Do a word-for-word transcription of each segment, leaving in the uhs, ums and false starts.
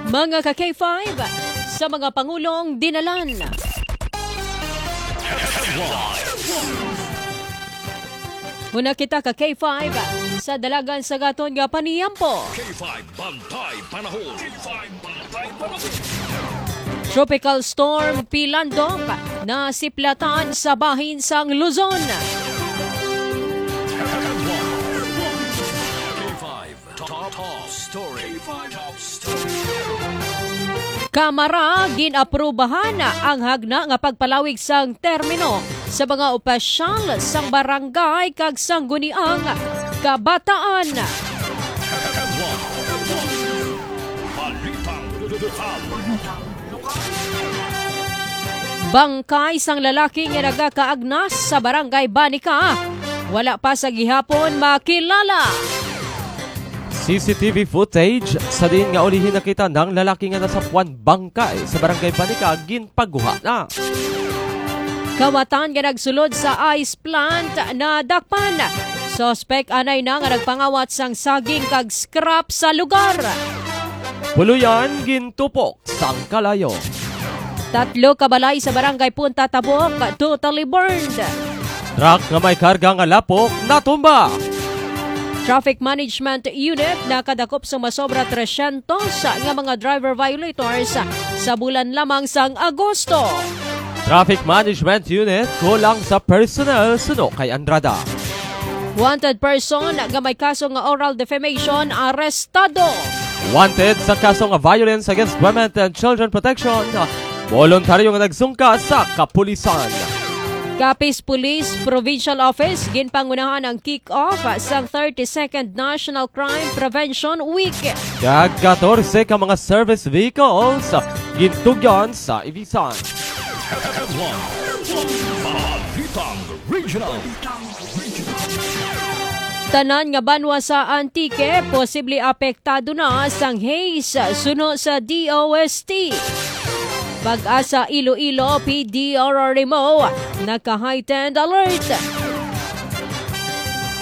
Mga ka K five, sa mga pangulong dinalan. Una kita ka K five sa dalagan sa gaton nga paniyampo. K five Bantay Panahon. K five Bantay Panahon. Tropical Storm Pilandok nasiplatan sa bahin sang Luzon. K five Top, Top Story. K five Top Story. Kamara, gin-aprubahan ang hagna nga pagpalawig sang termino sa mga opisyal sang barangay kag sangguniang kabataan. Balitang lokal. Bangkay sang lalaki nga nagakaagnas sa Barangay Banica, wala pa sa gihapon makilala. C C T V footage sa diin nga ulihi nakita ang lalaki nga nasapuan bangkay sa Barangay Banica ginpaguha na. Kawatan nga nagsulod sa ice plant nadakpan. Suspek anay na nga nagpangawat sang saging kag scrap sa lugar. Puluyan gintupok sang kalayo. Tatlo ka balay sa Barangay Punta Tabok totally burned. Truck nga may karga nga lapok natumba. Traffic Management Unit nakadakop sa masobra tresyentos nga mga driver violators sa bulan lamang sang Agosto. Traffic Management Unit kulang sa personnel suno kay Andrada. Wanted person nga may kaso nga oral defamation arestado. Wanted sa kaso nga violence against women and children protection, voluntaryo nga nagsungka sa kapulisan. Capiz Police Provincial Office ginpangunahan ang kick-off sang thirty-second National Crime Prevention Week. Kag katorse ka mga service vehicles gintugyan sa Ibisan. Balitang Regional. Tanan nga banwa sa Antique posible apektado na sang haze suno sa D O S T. Pag-asa Iloilo, P D R R M O, naka-heightened alert.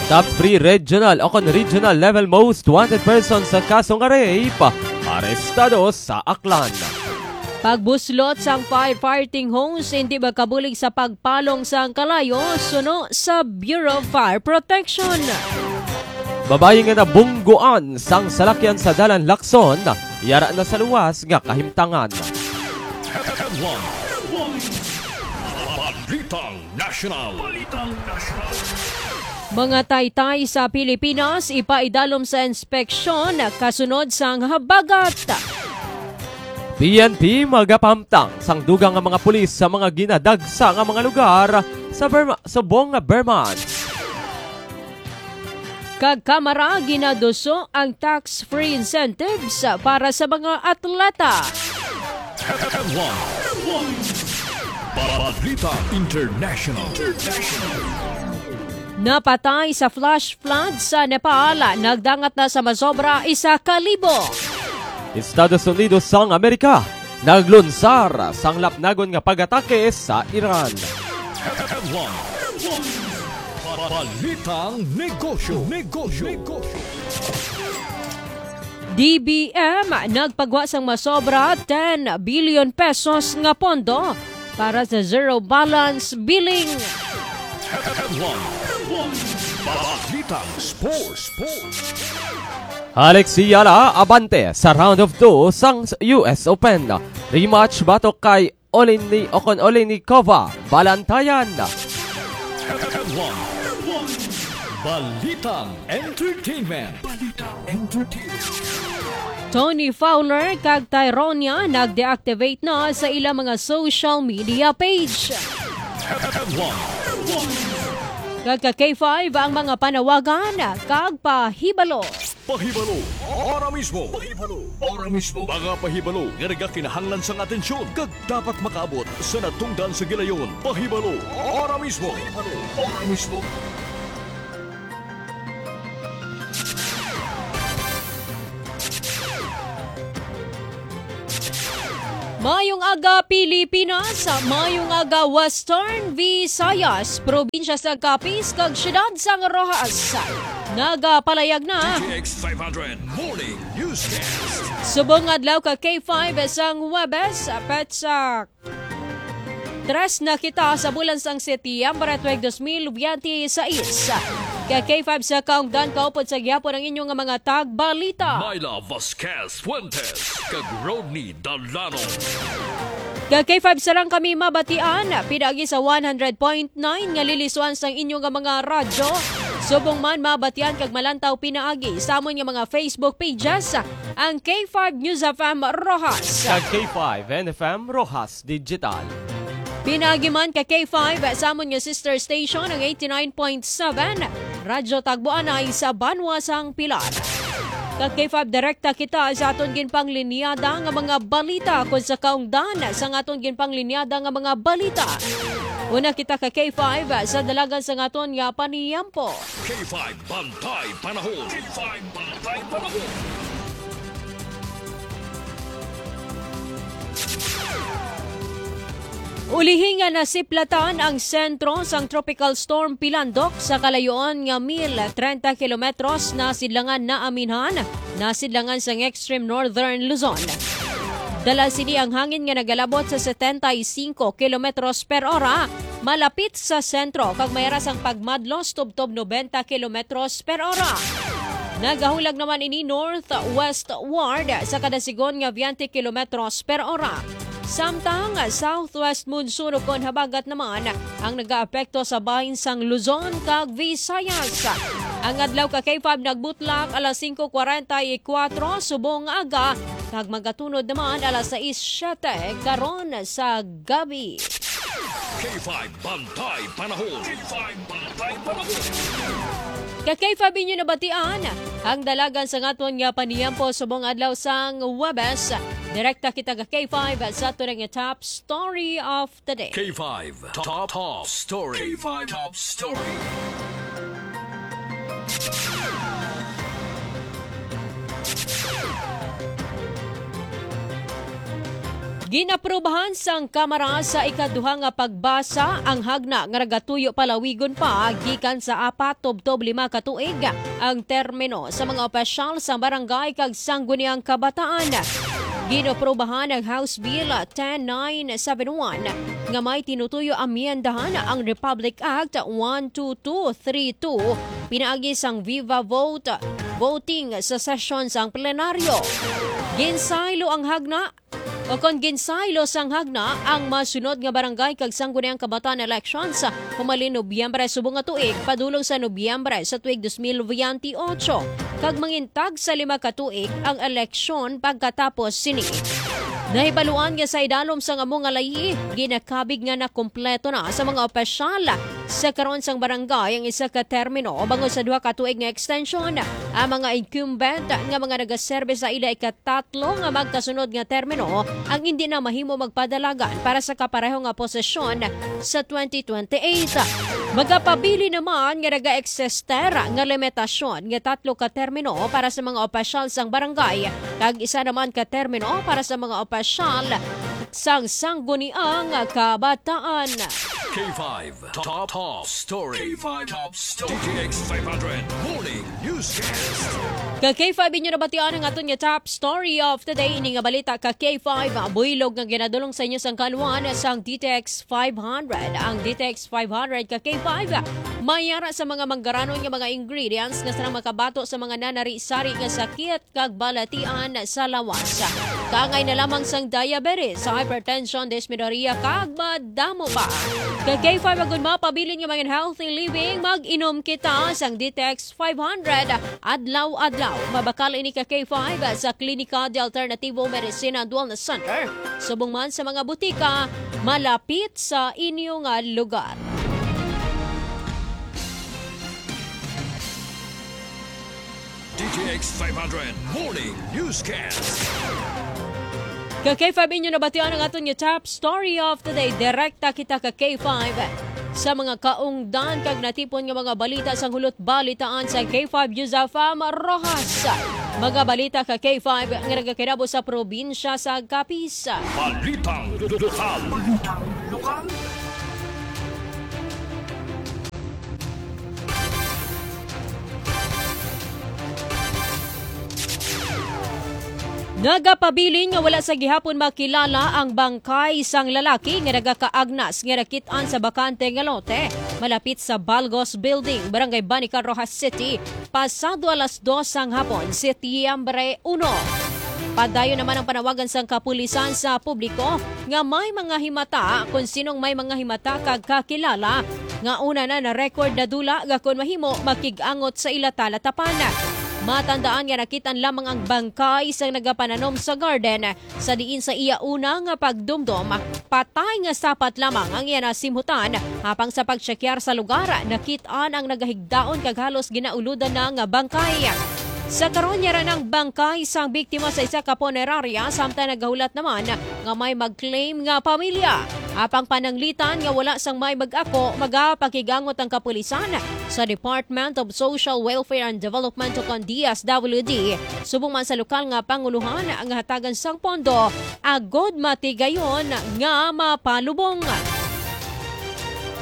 Top three regional o kon regional level most wanted person sa kaso nga rape, arestado sa Aklan. Pagbuslot sang firefighting hose hindi magkabulig sa pagpalong sang kalayo suno sa Bureau of Fire Protection. Babayi nga nabungguan sang salakyan sa Dalan Lacson, yara na sa luwas nga kahimtangan. Balitang National. Balitang National. Mga taytay sa Pilipinas ipaidalom sa inspeksyon kasunod sang habagat. P N P magapahamtang sang dugang nga mga pulis sa mga ginadagsa nga mga lugar sa Burma, subong nga Burma. Kag Kamara ginaduso ang tax-free incentives para sa mga atleta. Headlines. Balita International. Napatay sa flash flood sa Nepal, nagdangat na sa masobra isa ka libo. Estados Unidos sang Amerika naglunsar sang lapnagon nga pag-atake sa Iran. Headlines. Balitang negosyo. Negosyo. D B M nagpagwa sang masobra ten billion pesos nga pondo para sa zero balance billing. Headlines. Balitang sports. Sports. Alexi Yala abante sa round of two sang U S Open. Rematch batok kay Oleni o kon Olenikova, Balantayan. Balitang Entertainment. Balitang Entertainment. Tony Fowler kag Tyronia nag-deactivate na sa ilang mga social media page. Kag ka K five ang mga panawagan kag pahibalo. Pahibalo, ora mismo. Pahibalo, ora mismo. Mga pahibalo nga nagakinahanglan sang atensyon kag dapat makaabot sa natungdan sa gilayon. Pahibalo, ora mismo. Pahibalo, ora mismo. Mayong aga, Pilipinas. Mayong aga, Western Visayas, probinsya sa Capiz, kag siyudad sang Roxas. Nagapalayag na. D T X five hundred Morning Newscast. Subong adlaw ka K five sang Huwebes, petsa tres na kita sa bulan sang Setyembre tuig dos mil biyente sais. Ka K five sa kaungdan, kaupod sa gihapon ang inyo nga mga tagbalita. Myla Vasquez Fuentes, kag Rodney Dalano. Ka K five sa lang kami mabatian, pinaagi sa one hundred point nine nga lilisuan sang inyo nga mga radyo. Subong man mabatian kag malantaw pinaagi sa amon nga mga Facebook pages, ang K five News F M Roxas. Kag K five N F M Roxas Digital. Pinaagi man ka K five sa amon nga sister station, ang eighty-nine point seven Radyo Tagboanay sa Banwa sang Pilar. Kag K five direkta kita sa aton ginpanglinyada nga mga balita, kon sa kaungdan sang aton ginpanglinyada nga mga balita. Una kita ka K five sa dalagan sang aton nga paniyampo. K five, Bantay Panahon. K five, Bantay Panahon. Ulihi nga nasiplatan ang sentro sang Tropical Storm Pilandok sa kalayoon nga mil trenta kilometros, nasidlangan, naaminhan, nasidlangan sang extreme northern Luzon. Dala sini ang hangin nga nagalabot sa setenta y cinco kilometros per ora, malapit sa sentro, kag may ara sang pagmadlos tubtob nobenta kilometros per ora. Nagahulag naman ini northwestward sa kada sigon nga biyente kilometros per ora. Samtang southwest monsoon ukon habagat naman ang nagaapekto sa bahin sang Luzon kag Visayas. Ang adlaw ka K five nagbutlak alas singko kwarenta y kuwatro subong nga aga, kag magatunod naman alas sais siete karon sa gabi. K five Bantay Panahon. K five Bantay Panahon. Ka K five inyo nabatian ang dalagan sa aton nga paniyampo subong adlaw sang Huwebes. Direkta kita ka K five sa aton nga top story of the day. K five Top, Top Story. K five Top Story. Ginaprubahan sang Kamara sa ikaduha nga pagbasa ang hagna nga nagatuyo palawigon pa gikan sa apat tubtob lima ka tuig ang termino sa mga opisyal sa barangay kag sangguniang kabataan. Ginaprubahan ang House Bill ten nine seven one nga may tinutuyo amyendahan ang Republic Act one two two three two pinaagi sang viva vote voting sa sesyon sang plenaryo. Ginsaylo ang hagna, o kon ginsaylo sang hagna ang masunod nga barangay kag sangguniang kabataan elections humalin Nobyembre subong nga tuig padulong sa Nobyembre sa tuig dos mil veinte y ocho, kag mangintag sa lima ka tuig ang eleksyon pagkatapos sini. Nahibaluan nga sa idalom sang amo nga layi, ginakabig nga nakumpleto na sa mga opisyal sa karon sang barangay ang isa ka termino bangod sa duha ka tuig nga extension. Ang mga incumbent nga mga nagaserbe sa ila ikatatlo nga magkasunod nga termino ang indi na mahimo magpadalagan para sa kapareho nga posisyon sa twenty twenty-eight. Magapabilin naman nga nagaeksister nga limitasyon nga tatlo ka termino para sa mga opisyal sang barangay kag isa naman ka termino para sa mga opisyal sang sangguniang kabataan. K five Top, Top Story. K five Top Story. D T X five hundred Morning Newscast. Ka K five inyo nabatian ang aton nga top story of the day. Ini nga balita ka K five, buylog nga ginadulong sa inyo sang kaluan sang D T X five hundred. Ang D T X five hundred ka K five, may ara sa mga manggaranon nga mga ingredients nga sarang makabato sa mga nanari-sari nga sakit kag balatian sa lawas. Kaangay na lamang sang diabetes, hypertension, dysmenorrhea, kag madamo pa. Ka K five, agud mapabilin nga mga healthy living, mag-inom kita sang D T X five hundred adlaw-adlaw. Mabakal ini ka K five sa Klinika de Alternativo Medicine and Wellness Center, subong man sa mga butika malapit sa inyo nga lugar. D T X five hundred Morning Newscast. Ka K five inyo nabatian ang aton nga top story of the day. Direkta kita ka K five sa mga kaungdan kag natipon nga mga balita sang hulot balitaan sa K five News F M Roxas. Mga balita ka K five nga nagakinabo sa probinsya sa Capiz. Balitang lokal. Balitang lokal. Nagapabilin nga wala sa gihapon makilala ang bangkay sang lalaki nga nagakaagnas nga nakit-an sa bakante nga lote malapit sa Balgos Building, Barangay Banican, Roxas City, pasado alas dos sang hapon, Setyembre uno. Padayon naman ang panawagan sang kapulisan sa publiko nga may mga himata kon sinong may mga himata kag kakilala nga una na na-record na dula nga kon mahimo makig-angot sa ila talatapan. Matandaan nga nakit-an lamang ang bangkay sang nagapananom sa garden, sa diin sa iya una nga pagdumdom, patay nga sapat lamang ang iya nasimhutan. Apang sa pagtsekyar sa lugar, nakit-an ang nagahigdaon kag halos ginauludan na nga bangkay. Sa karon, yara nang bangkay sang biktima sa isa ka punerarya, samtang nagahulat naman nga may mag-claim nga pamilya. Apang pananglitan nga wala sang may mag-ako, magapakigangot ang kapulisan sa Department of Social Welfare and Development o kon D S W D, subong man sa lokal nga pangulohan nga hatagan sang pondo agod matigayon nga mapalubong.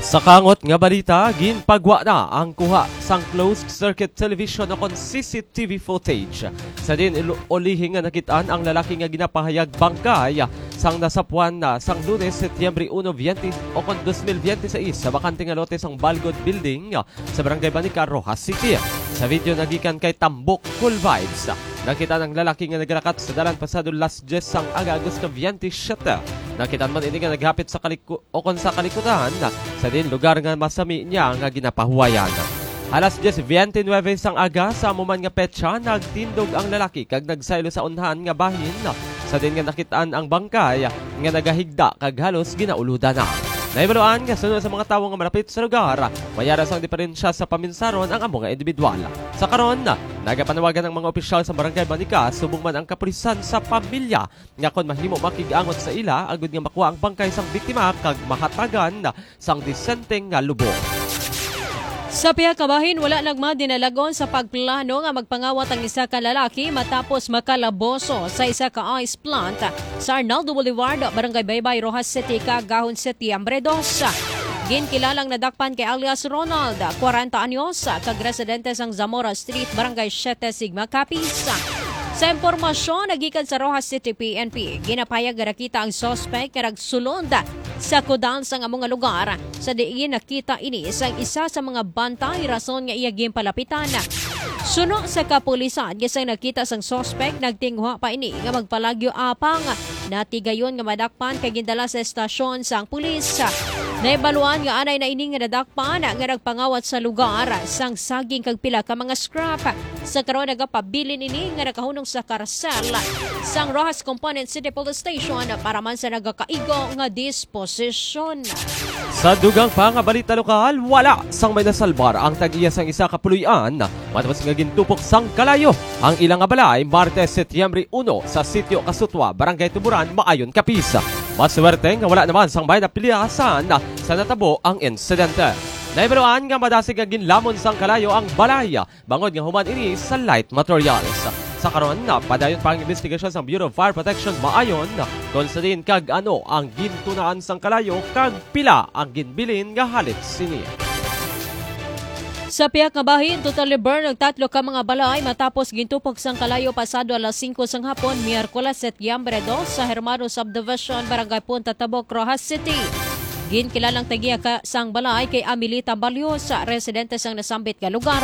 Sa kangot nga balita, ginpagwa na ang kuha sang closed circuit television o kon C C T V footage. Sa diin ul-, ulihi nga nakit-an ang lalaki nga ginapahayag bangkay sang nasapuan na sang Lunes, Setyembre uno, veinte o kon dos mil veinte seis sa bakante nga lote sang Balgod Building sa Barangay Banican, Roxas City. Sa video nagikan kay Tambok Cool Vibes, nakit-an ang lalaki nga nagalakat sa dalan pasado las diyes sang aga, Agosto veinte siete. Nakit-an man ini nga naghapit sa kaliku-, o kon sa kalikutan sa diin lugar nga masami niya nga ginapahuwayan. Alas diyes beintinuebe sang aga sa amo man nga petsa, nagtindog ang lalaki kag nagsaylo sa unhan nga bahin, sa diin nga nakit-an ang bangkay nga nagahigda kag halos ginauludan na. Nahibaluan nga suno sa mga tawo nga malapit sa lugar, may ara sang diperensya sa paminsaron ang amo nga individual. Sa karon, nagapanawagan ang mga opisyal sa Barangay Banican, subong man ang kapulisan, sa pamilya nga kon mahimo makig-angot sa ila agud nga makuha ang bangkay sang biktima kag mahatagan sang disenteng nga lubong. Sa pihak nga bahin, wala nagmadinalagon sa pagplano nga magpangawat ang isa ka lalaki matapos makalaboso sa isa ka ice plant sa Arnaldo Boulevard, Barangay Baybay, Roxas City, kaagahon Setyembre dos. Ginkilalang nadakpan kay alias Ronald, kwarenta anyos, kag residente sang Zamora Street, Barangay Siete Sigma, Capiz. Sa impormasyon nagikan sa Roxas City P N P, ginapahayag nga nakita ang suspect nga nagsulod sa kudal sang amo nga lugar, sa diin nakita ini sang isa sa mga bantay, rason nga iya ginpalapitan. Suno sa kapulisan, nga sang nakita sang suspect, nagtinguha pa ini nga magpalagyo, apang natigayon nga madakpan kag gindala sa estasyon sang pulis. Nahibaluan nga anay na ini nga nadakpan nga nagpangawat sa lugar sang saging kag pila ka mga scrap. Sa karon, nagapabilin ini nga nakahunong sa karsel sang Roxas Component City Police Station para man sa nagakaigo nga disposisyon. Sa dugang pa nga balita lokal, wala sang may nasalbar ang tag-iya sang isa ka puloy-an matapos nga gintupok sang kalayo ang ila nga balay Martes, Setyembre uno, sa Sitio Kasutwa, Barangay Tuburan, Maayon, Capiz. Maswerte nga wala naman sang may napilasan sa natabo ang insidente. Nahibaluan nga madasig nga ginlamon sang kalayo ang balay bangod nga human ini sa light materials. Sa karon, padayon pa ang investigasyon sang Bureau of Fire Protection Maayon kon sa diin kag ano ang gintunaan sang kalayo kag pila ang ginbilin nga halit sini. Sa pihak nga bahin, totally burn ang tatlo ka mga balay matapos gintupok sang kalayo pasado alas singko sang hapon, Miyerkules, Setyembre dos, sa Hermano Subdivision, Barangay Punta Tabok, Roxas City. Ginkilalang tag-iya ka sang balay kay Amelita Balyosa, residente sang nasambit nga lugar.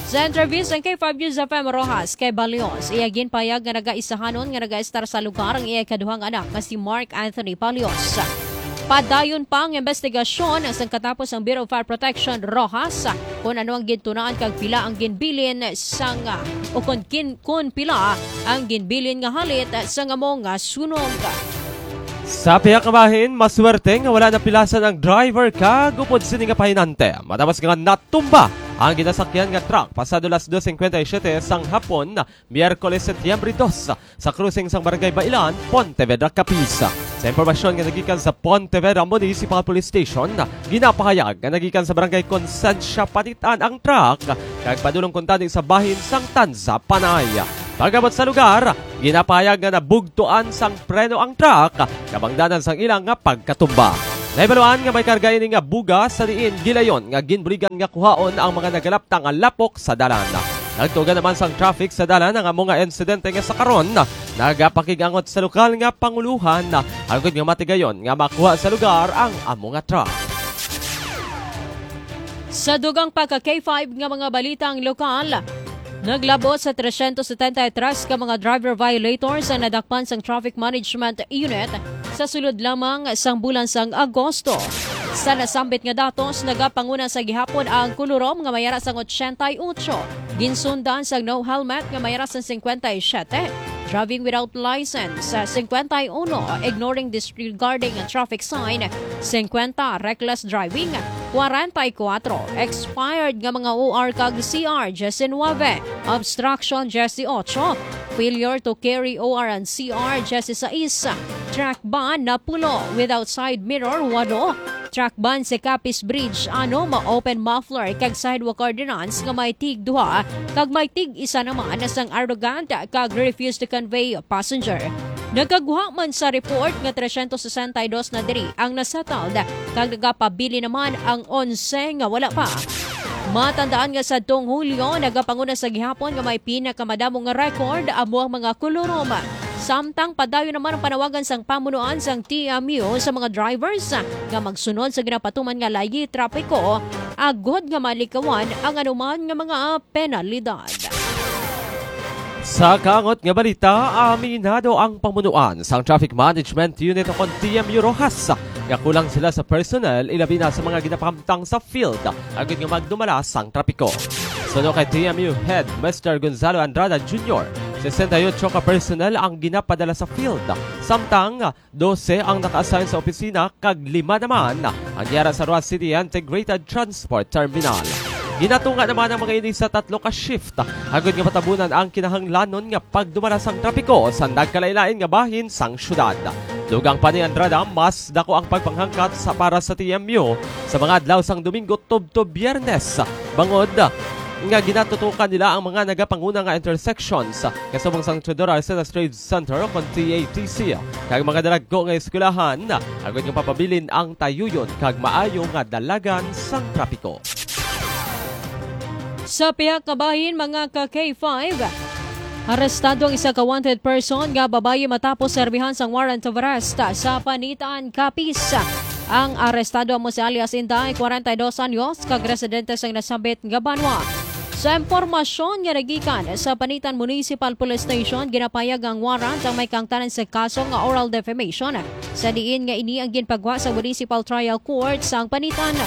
Sa interview sang K five News F M Roxas kay Balyosa, iya ginpahayag nga nagaisahanon nga nagaestar sa lugar ang iya ikaduhang anak nga si Mark Anthony Balyosa. Padayon pa ang investigasyon sang katapos ang Bureau of Fire Protection Roxas kon ano ang gintunaan kag pila ang ginbilin sang, ah, o kon kin-, kon pila ang ginbilin nga halit sang amo nga sunog. Sa pihak nga bahin, maswerte nga wala napilasan ang driver kag upod sini nga pahinante matapos nga natumba ang ginasakyan nga truck pasado las dos cincuenta y siete sang hapon, Miyerkules, Setyembre dos, sa crossing sang Barangay Bailan, Pontevedra, Capiz. Sa impormasyon nga nagikan sa Pontevedra Municipal Police Station, ginapahayag nga nagikan sa Barangay Concencia Panitan ang truck kag padulong kuntani sa bahin sang Tanza, Panay. Pag-abot sa lugar, ginapahayag nga nabugtuan sang preno ang truck, kabangdanan sang ila nga pagkatumba. Nahibaluan nga may karga ini nga bugas sa diin gilayon nga ginbuligan nga kuhaon ang mga nagalapta nga lapok sa dalan. Nagtuga naman sang traffic sa dalan ang amo nga insidente nga sa karon nagapakig-angot sa lokal nga pangulohan agod nga matigayon nga makuha sa lugar ang amo nga truck. Sa dugang pa ka K five nga mga balitang lokal, naglabot sa tresyentos setenta y tres ka mga driver violators ang nadakpan sang Traffic Management Unit sa sulod lamang sang bulan sang Agosto. Sa nasambit nga datos, nagapanguna sa gihapon ang kulurom nga may ara sang ochenta y ocho, ginsundan sang no helmet nga may ara sang cincuenta y siete, driving without license, cincuenta y uno, ignoring, disregarding a traffic sign, cincuenta, reckless driving, kwarenta y kuwatro, expired nga mga O R kag C R, diecinuebe, obstruction, dieciocho, failure to carry O R and C R, dieciséis, truck ban, napulo, without side mirror, walo, truck ban sa Capiz Bridge, ano, ma-open muffler kag sidewalk ordinance nga may tig duha kag may tig isa naman sang arrogant kag refuse to convey passenger. Nagkagwa man sa report nga tresyentos sesenta y dos na diri ang nasettled kag nagapabilin naman ang onse nga wala pa. Matandaan nga sadtong Hulyo, nagapanguna sa gihapon nga may pinakamadamo nga record amo ang mga kulurom. Samtang padayon naman ang panawagan sang pamunuan sang T M U sa mga drivers nga magsunod sa ginapatuman nga layi trapiko agod nga malikawan ang anuman nga mga penalidad. Sa kaangot nga balita, aminado ang pamunuan sang Traffic Management Unit o kon T M U Roxas nga kulang sila sa personnel, ilabi na sa mga ginapahamtang sa field, agud nga magdumala sang trapiko. Suno kay T M U Head Mister Gonzalo Andrada Junior, sesenta y ocho ka personnel ang ginapadala sa field, samtang dose ang naka-assign sa opisina kag lima naman ang yara sa Roxas City Integrated Transport Terminal. Ginatunga naman ang mga ini sa tatlo ka shift, agud nga matabunan ang kinahanglanon nga pagdumala sang trapiko sa nagkalain-lain nga bahin sang syudad. Dugang pa ni Andrada, mas dako ang pagpanghangkat sa para sa T M U sa mga adlaw sang Domingo tubtob Biyernes, bangod nga ginatutukan nila ang mga nagapanguna nga intersections kasubong sang Teodoro Arcelas Trade Center o kon T A T C, kag mga dalagko nga eskwelahan, agud nga papabilin ang tayuyon kag maayo nga dalagan sang trapiko. Sa pihak nga bahin, mga ka K five, arestado ang isa ka wanted person nga babayi matapos serbihan sang warrant of arrest sa Panitan, Capiz. Ang arestado amo si alias Inday, kwarenta y dos anyos, kag residente sang nasambit nga banwa. Sa impormasyon nga nagikan sa Panitan Municipal Police Station, ginapayag ang warrant ang may kaangtanan sa kaso nga oral defamation, sa diin nga ini ang ginpagwa sa Municipal Trial Court sang Panitan.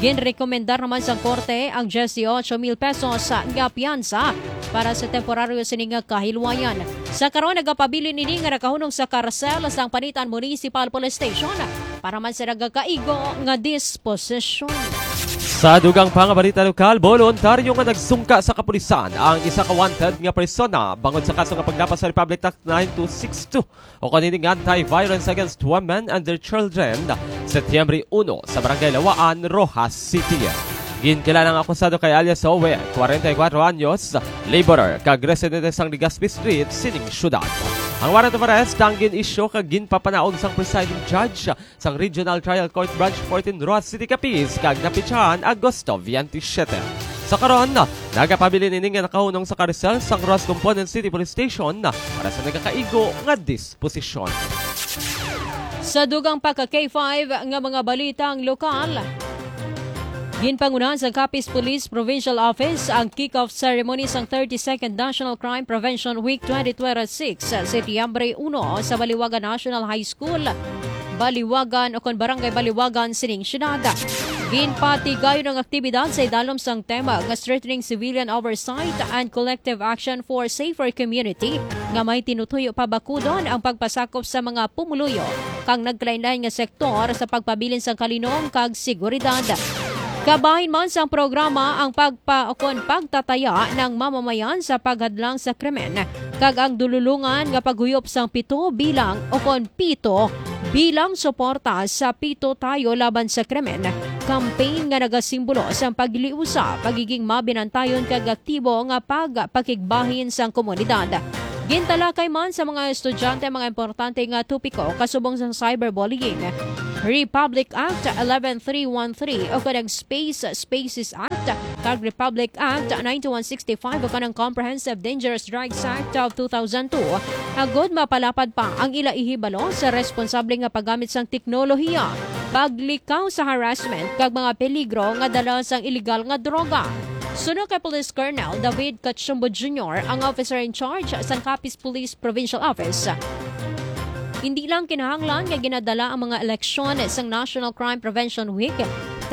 Ginrekomendar naman sang korte ang dieciocho mil pesos nga piyansa para sa temporaryo sini nga kahilwayan. Sa karon, nagapabilin ini nga nakahunong sa karsel sang Panitan Municipal Police Station para man sa nagakaigo nga disposisyon. Sa dugang pa nga balita lokal, boluntaryo nga nagsungka sa kapulisan ang isa ka wanted nga persona bangod sa kaso nga paglapas sa Republic Act nine two six two, o kon ining Anti-Violence Against Women and Their Children, Setyembre uno sa Barangay Lawaan, Roxas City. Ginkilala ang akusado kay alias Owe, kwarenta y kuwatro anyos, laborer, kag residente sang Legazpi Street sining syudad. Ang warrant of arrest ang gin-issue kag ginpapanaog sang presiding judge sang Regional Trial Court Branch fourteen, Roxas City, Capiz, kag napitsahan Agosto twenty-seven. Sa karon, nagapabilin ini nga nakahunong sa karsel sang Roxas Component City Police Station para sa nagakaigo nga disposisyon. Sa dugang pa ka K five nga mga balitang lokal, ginpangunahan sa Capiz Police Provincial Office ang kick-off ceremony sang thirty-second National Crime Prevention Week twenty twenty-six, Setyembre uno, sa Baliwagan National High School, Baliwagan, o kon Barangay Baliwagan, sining syudad. Ginpatigayon ang aktibidad sa idalom sang tema nga Strengthening Civilian Oversight and Collective Action for Safer Community, nga may tinutuyo pabakudon ang pagpasakop sa mga pumuluyo kang nagkalainlain nga sektor sa pagpabilin sang kalinom kag seguridad. Kabahin man sang programa ang pagpa-, o kon pagtataya ng mamamayan sa paghadlang sa krimen, kag ang dululungan nga paghuyop sang pito bilang, o kon pito bilang suporta sa Pito Tayo Laban sa Krimen campaign nga nagasimbolo sang pagliusa, pagiging mabinantayon kag aktibo nga pagpakigbahin sang komunidad. Gintalakay man sa mga estudyante ang mga importante nga topiko kasubong sa cyberbullying, Republic Act eleven three one three o kanang Space Spaces Act kag Republic Act ninety-one sixty-five o kanang Comprehensive Dangerous Drugs Act of two thousand two, agod mapalapad pa ang ila ihibalo sa responsable nga paggamit sang teknolohiya, paglikaw sa harassment kag mga peligro nga dala sang iligal nga droga. Suno kay Police Colonel David Cachumbo Junior, ang officer in charge sang Capiz Police Provincial Office, hindi lang kinahanglan nga ginadala ang mga eleksyon sang National Crime Prevention Week,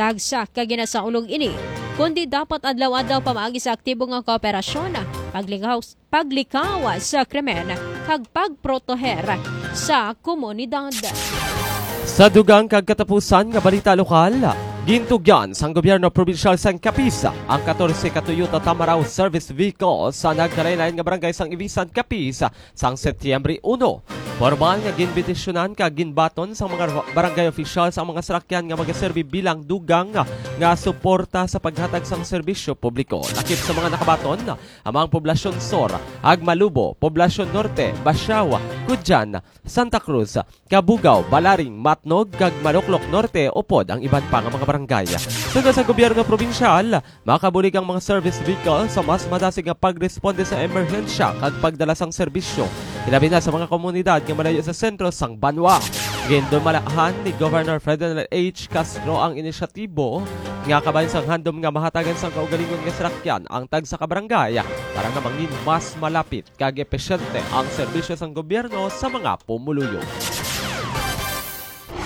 tagsa ka ginasaulog ini, kundi dapat adlaw-adlaw pamaagi sa aktibo nga kooperasyon, paglikaw, paglikaw sa krimen, kag pagproteher sa komunidad. Sa dugang kag katapusan nga balita lokal, gintugyan sang gobyerno probinsyal sang Capiz ang katorse ka Toyota Tamaraw service vehicle sa nagkalain-lain nga barangay sang Ibisan, Capiz sang Setyembre uno. Formal nga ginbendisyonan kag ginbaton sang mga barangay officials ang mga salakyan nga magaserbi bilang dugang nga suporta sa paghatag sang serbisyo publiko. Lakip sa mga nakabaton, ang mga poblasyon Sur, Agmalubo, Poblasyon Norte, Basiao, Cudjan, Santa Cruz, Cabugao, Balaring, Matnog, kag Maloklok Norte, upod ang iban pa nga mga barangay. Suno sa gobyerno probinsyal, makabulig ang mga service vehicle sa mas madasig nga pagresponde sa emerhensya kag pagdala sang serbisyo, hilabi na sa mga komunidad nga malayo sa sentro sang banwa. Gindumalahan ni Governor Ferdinand H. Castro ang inisyatibo nga kabahin sang handom nga mahatagan sang kaugalingon nga salakyan ang tagsa ka barangay para nga mangin mas malapit kag epesyente ang serbisyo sang gobyerno sa mga pumuluyo.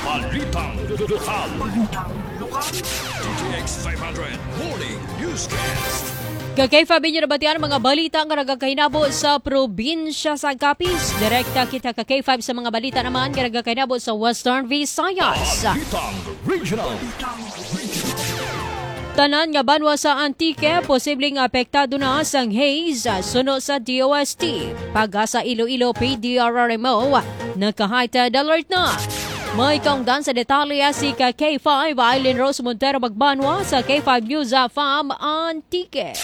Balitang lokal. Balitang lokal. D T X five hundred Morning Newscast. Ka K five, inyo nabatian ang mga balita nga nagakahinabo sa probinsya sa Capiz. Direkta kita ka K five sa mga balita naman nga nagakahinabo sa Western Visayas. Balitang Regional. Tanan nga banwa sa Antique posibleng apektado na sang haze, suno sa D O S T. PAGASA Iloilo, P D R R M O, naka-heightened alert na. May kaungdan sa detalye si ka K five Eileen Rose Montero Magbanwa sa K five News F M Antique.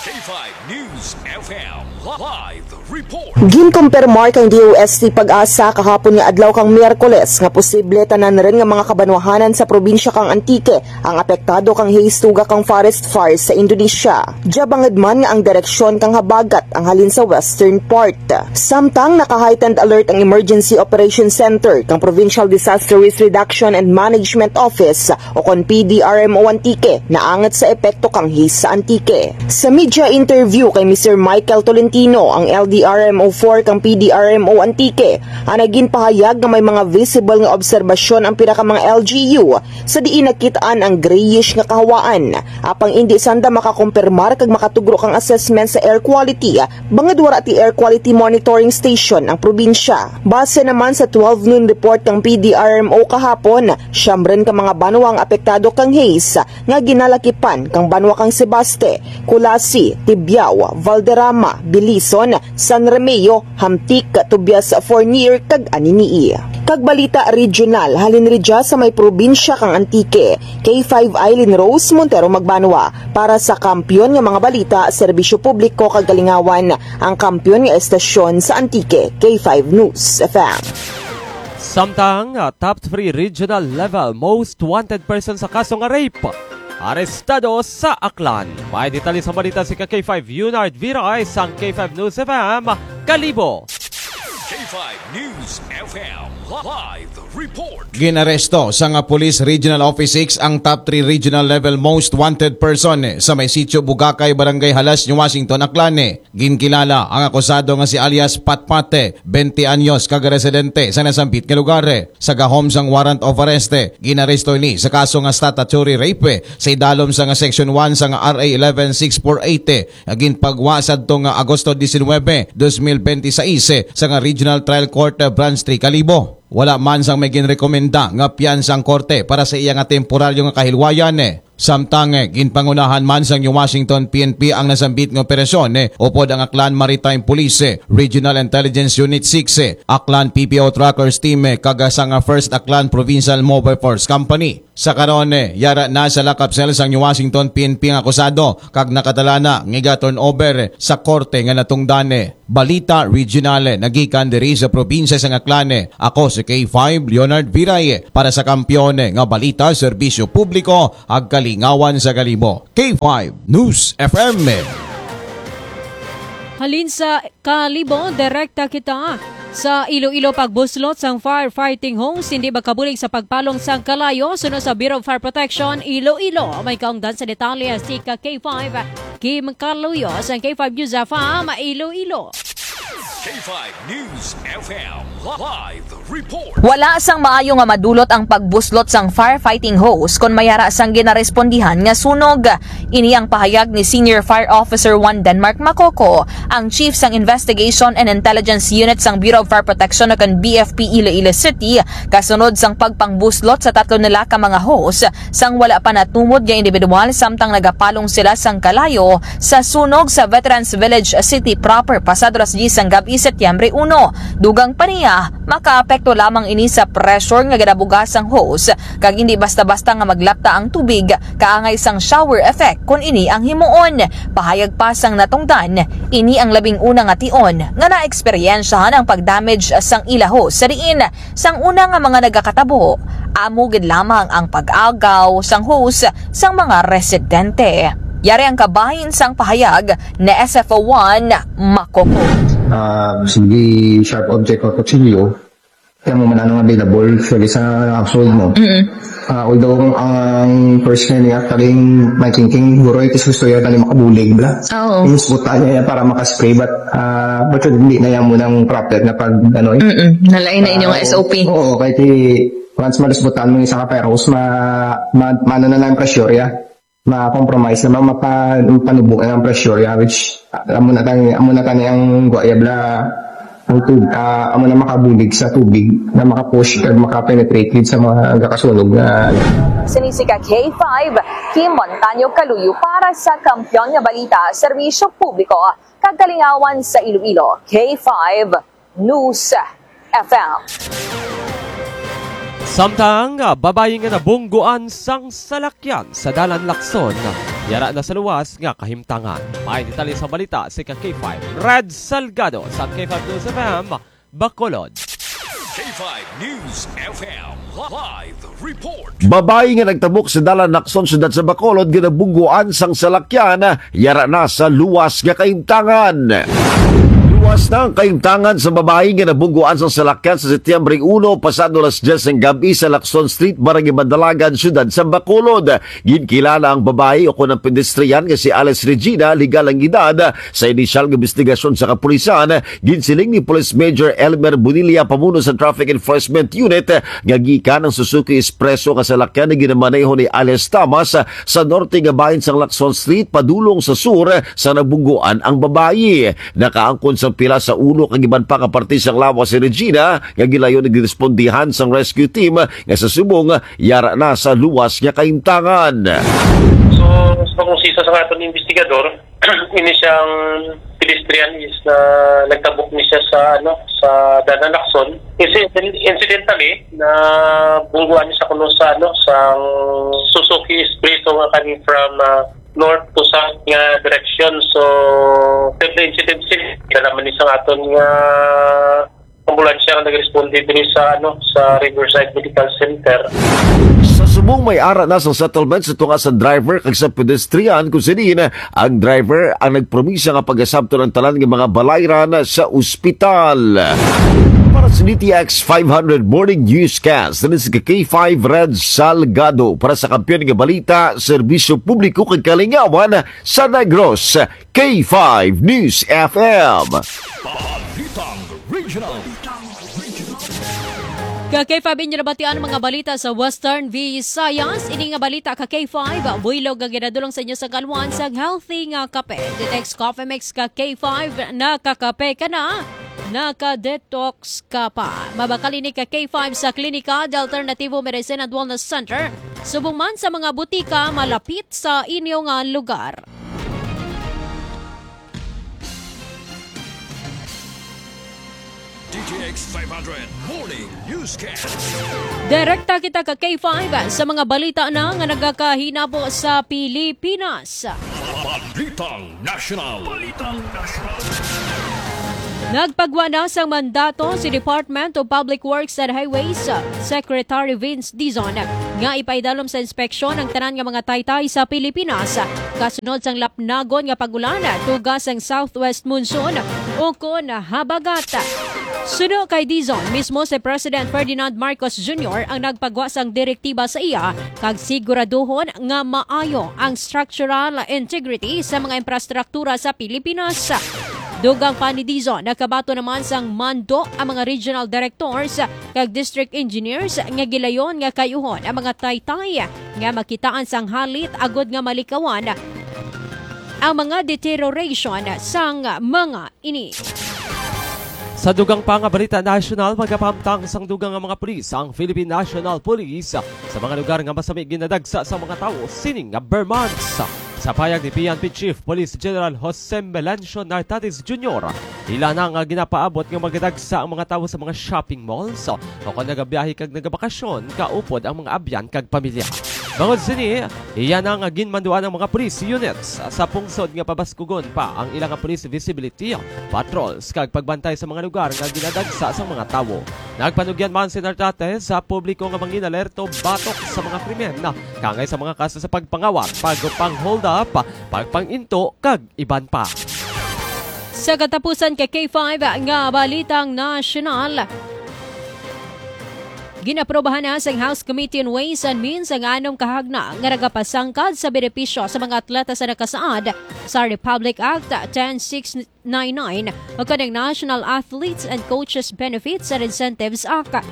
K five News F M live report. Ginkumpirmar kang D O S T PAGASA kahapon nga adlaw kang Miyerkules nga posible tanan rin nga mga kabanwahanan sa probinsya kang Antique ang apektado kang haze tugkad kang forest fire sa Indonesia. Dia bangod man nga ang direksyon kang habagat ang halin sa western part. Samtang naka-heightened alert ang Emergency Operation Center kang Provincial Disaster Risk Reduction and Management Office o kon P D R M O Antique, naangat sa epekto kang haze sa Antique. Sa media interview kay Mister Michael Tolentino, ang L D R M O four kang P D R M O Antique, ang naging pahayag nga may mga visible nga obserbasyon ang pila ka mga L G U sa diin nakit-an ang grayish nga kahawaan. Apang indi sanda makakumpirmar kag makatugro kang assessment sa air quality, bangod wala ti air quality monitoring station ang probinsya. Base naman sa twelve noon report kang P D R M O kahapon, siyam rin ka mga banwa ang apektado kang haze nga ginalakipan kang banwa kang Sebaste, Culasi, Tibiao, Valderrama, Belison, San Remigio, Hamtic, Tobias, Fornier, kag Anini-y. Kag balita regional, halin ridya sa may probinsya kang Antique, K five Eileen Rose Montero Magbanwa para sa Kampiyon nga mga balita, serbisyo publiko kag kalingawan, ang kampiyon nga estasyon sa Antique, K five News F M. Samtang, ah, top three regional level most wanted person sa kaso nga rape, arestado sa Aklan. May detalye sa balita si ka K five Junard Viray sang K five News F M, Kalibo. K five News F M live report. Ginaresto sa nga Police Regional Office six ang top three regional level most wanted person sa may Sitio Bugakay, Barangay Halas, New Washington, Aklan. Ginkilala ang akusado nga si alias Patpate, twenty anyos, kag residente sa nasambit nga lugar. Sa gahom sang warrant of arrest, ginaresto ini sa kaso nga statutory rape sa idalom sa nga Section one sa nga R A eleven six four eight, nga ginpagwa sadto nga Agosto diecinuebe, dos mil benti seis, sa nga Regional Trial Court, Branch three, Kalibo. Wala man sang may ginrekomenda nga piyansa ang korte para sa iya nga temporaryo nga kahilwayan. Samtang, eh, ginpangunahan man sang New Washington P N P ang nasambit nga operasyon, eh, upod ang Aklan Maritime Police, eh, Regional Intelligence Unit six, eh, Aklan P P O Trackers Team, eh, kag sang, ah, First Aklan Provincial Mobile Force Company. Sa karon, eh, yara na sa lock-up cell sang New Washington P N P ang akusado, kag nakadala na nga iga-turnover, eh, sa korte nga natungdan, eh. Balita Regional, eh, nagikan diri sa probinsya sang Aklan, eh. Ako si K five Leonard Viray, eh, para sa Kampiyon, eh, nga Balita, Serbisyo Publiko, ag Kalingawan sa Kalibo. K five News F M. Halin sa Kalibo, direkta kita sa Iloilo. Pagbuslot sang firefighting hose hindi makabulig sa pagpalong sang kalayo, suno sa Bureau of Fire Protection Iloilo. May kaungdan sa detalye si ka K five Kim Kaluyo sang K five News F M Iloilo. K five News F M live report. Wala sang maayo nga madulot ang pagbuslot sang firefighting hose kon may ara sang ginarespondihan nga sunog. Ini ang pahayag ni Senior Fire Officer one Denmark Macoco, ang Chief sang Investigation and Intelligence Unit sang Bureau of Fire Protection o kan B F P Iloilo City, kasunod sang pagpangbuslot sa tatlo nila ka mga hose sang wala pa natumod nga individual samtang nagapalong sila sang kalayo sa sunog sa Veterans Village City proper pasado alas diyes sang gab-i, Setyembre uno. Dugang pa niya, makaapekto lamang ini sa pressure nga ginabuga sang hose, kag hindi basta-basta nga maglapta ang tubig, kaangay sang shower effect kon ini ang himuon. Pahayag pa sang natungdan, ini ang labing una nga tion nga naeksperyensyahan ang pag-damage sang ila hose sa diin sang una nga mga nagakatabo, amo gid lamang ang pag-agaw sang hose sang mga residente. Yari ang kabahin sang pahayag ni S F O one Macoco. Ah, sige, sharp object or kutsilyo, kaya mo man anong available, pwede sa household mo. Mm-mm. Ah, although ang, ang first niya niya, kaling may thinking, guro, ito gusto niya, dali makabulig, bla. Oo. Yung spot niya yan para makaspray, but, ah, but hindi na yan mo ng proper na pag, ano, eh. Mm-mm. Nalain na inyong Ah, oo. S O P. Oo, kahit i-, once malusbutan mo yung isa ka fire hose, ma-, ma-, maano na lang ang pressure, ya. Ma-compromise na, ma-, mapa-, mapanubo na ang pressure, ya, which, ah, amo na tani, amo na tani ang guwaya, bla, ang tub-, ah, amo na makabulig sa tubig, na makapush, kag makapenetrate gid sa mga gakasunog na, ano. Sini si ka K five, Kim Montaño Kaluyo para sa Kampiyon nga Balita, Serbisyo Publiko, kag Kalingawan sa Iloilo, K five News F M. Samtang, ah, babayi nga nabungguan sang salakyan sa Dalan Lacson, yara na sa luwas nga kahimtangan. May detalye sa balita si ka K five Red Salgado sa K five News F M, Bacolod. K five News F M live report. Babayi nga nagtabok sa Dalan Lacson, siyudad sa Bacolod, nga nabungguan sang salakyan, yara na sa luwas nga kahimtangan. Luwas na ang kahimtangan sa babayi nga nabungguan sang salakyan sa Setyembre uno, pasado alas diyes ng gabi sa Lacson Street, Barangay Mandalagan, siyudad sa Bacolod. Ginkilala ang babayi o kon ang pedestrian nga si Alice Regina, legal ang edad, sa inisyal nga investigasyon sa kapulisan. Ginsiling ni Police Major Elmer Bonilla, pamuno sa Traffic Enforcement Unit, nga gikan ang Suzuki Espresso nga salakyan nga ginamaneho ni alias Thomas sa norte nga bahin sang Lacson Street padulong sa sur sa nabungguan ang babayi. Nakaangkon sang pila sa ulo kag iban pa nga parte sang lawas si Regina, nga gilayon nga girespondihan sang rescue team nga sa subong yara na sa luwas nga kahimtangan. So, sa pangusisa sa aton investigador, ini siyang pedestrian is na nagtabok ni siya sa, ano, sa Dalan Lacson. Inci-, incidentally, na bungguan niya sa kuno sa, ano, sa Suzuki Espresso nga coming from, ah, north to south nga direction. So, the incident scene, kailangan ni sa aton nga ambulansya nga nagresponde diri sa, ano, sa Riverside Medical Center. Sa subong may ara na sa settlement sa tunga sa driver kag sa pedestrian, kung sa diin ang driver ang nagpromisa nga pagasabton ang tanan nga mga balayran sa ospital. Para sa D T X five hundred Morning Newscast, diri sa K five Red Salgado para sa Kampiyon nga Balita, Serbisyo Publiko kag Kalingawan sa Negros. K five News F M. Balitang Regional. Ka K five, inyo nabatian ang mga balita sa Western Visayas. Ini nga balita ka K five, buylog nga ginadulong sa inyo sa kalwan sang healthy nga kape. Ditex Coffee Mix ka K five, nakakape ka na. Naka-detox ka pa. Mabakal ini ka K five sa Klinika de Alternativo Medicine and Wellness Center, subong man sa mga butika malapit sa inyo nga lugar. D T X five hundred Morning Newscast. Direkta kita ka K five sa mga balita na nga nagakahinabo sa Pilipinas. Balitang National. Balitang National. Nagpagwa na sang mandato si Department of Public Works and Highways Secretary Vince Dizon nga ipaidalom sa inspeksyon ang tanan nga mga taytay sa Pilipinas, kasunod sang lapnagon nga pag-ulan tuga sang southwest monsoon ukon habagat. Suno kay Dizon, mismo si President Ferdinand Marcos Junior ang nagpagwa sang direktiba sa iya kag siguraduhon nga maayo ang structural integrity sa mga infrastruktura sa Pilipinas. Dugang pa ni Dizon, nakabaton naman sang mando ang mga regional directors kag district engineers nga gilayon nga kayuhon ang mga taytay nga makitaan sang halit agud nga malikawan ang mga deterioration sang mga ini. Sa dugang pa nga balita nasyonal, magapahamtang sang dugang nga mga pulis ang Philippine National Police sa mga lugar nga masami ginadagsa sa mga tawo sining nga ber months. Sa payag ni P N P Chief Police General Jose Melancio Nartates Junior, ila na nga ginapaabot nga magadagsa ang mga tawo sa mga shopping malls o kon nagabiyahe kag nagabakasyon kaupod ang mga abyan kag pamilya. Bangod sini, iya na nga ginmanduan ang mga police units sa pungsod nga pabaskugon pa ang ila nga police visibility patrols kag pagbantay sa mga lugar nga ginadagsa sang mga tawo. Nagpanugyan man si Nartates sa publiko nga mangin-alerto batok sa mga krimen, kangay sa mga kaso sa pagpangawat, pagpang-hold up, pagpang-into, kag iban pa. Sa katapusan ka K five nga balitang nasyonal, ginaprobahan na sang House Committee on Ways and Means ang anom ka hagna nga nagapasangkad sa benepisyo sa mga atleta sa nakasaad sa Republic Act ten six nine nine o kanang National Athletes and Coaches Benefits and Incentives Act.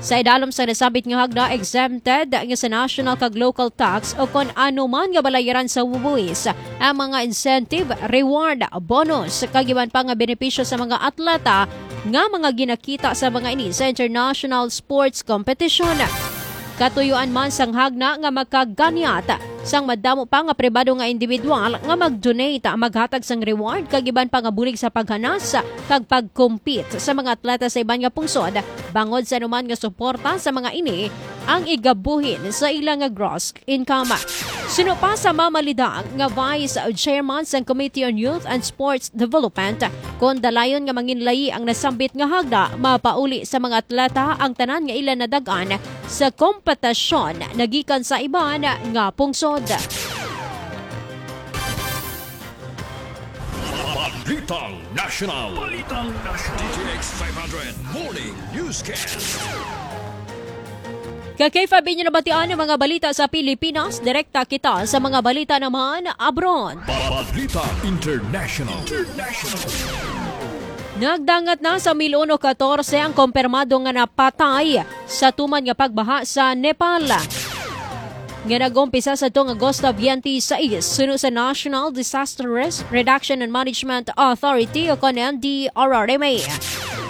Sa idalom sa nasambit nga hagna, exempted nga sa national kag local tax o kon ano man nga balayaran sa buhis ang mga incentive, reward, bonus, kag iban pa nga benepisyo sa mga atleta nga mga ginakita sa mga ini sa international sports competition. Katuyuan man sang hagna nga makaganyat sang madamo pa nga pribado nga individual nga mag-donate, maghatag sang reward kag iban pa nga bulig sa paghanas kag pag-compete sa mga atleta sa iban nga pungsod, bangod sa anuman nga suporta sa mga ini ang igabuhin sa ila nga gross income. Suno pa sa mamalidang nga Vice Chairman sang Committee on Youth and Sports Development, kon dalayon nga manginlayi ang nasambit nga hagna, mapauli sa mga atleta ang tanan nga ila nadag-an sa kompetisyon nagikan sa iban nga pungsod. Balitang National. Balitang National. D T X five hundred Morning Newscast. Ka K five, inyo nabatian ang mga balita sa Pilipinas. Direkta kita sa mga balita naman abroad. Balita International. International. Nagdangat na sa mil uno katorse ang kompirmado nga napatay sa tuman nga pagbaha sa Nepal, nga nag-umpisa sa tong Agosto twenty-six, suno sa National Disaster Risk Reduction and Management Authority o kon N D R R M A.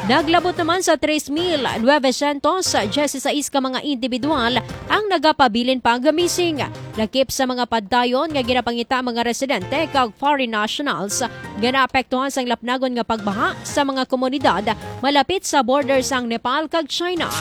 Naglabot naman sa tres mil novecientos dieciséis ka mga individual ang nagapabilin pa nga missing, lakip sa mga padayon nga ginapangita ang mga residente kag foreign nationals nga naapektuhan sang lapnagon nga pagbaha sa mga komunidad malapit sa border sang Nepal kag China.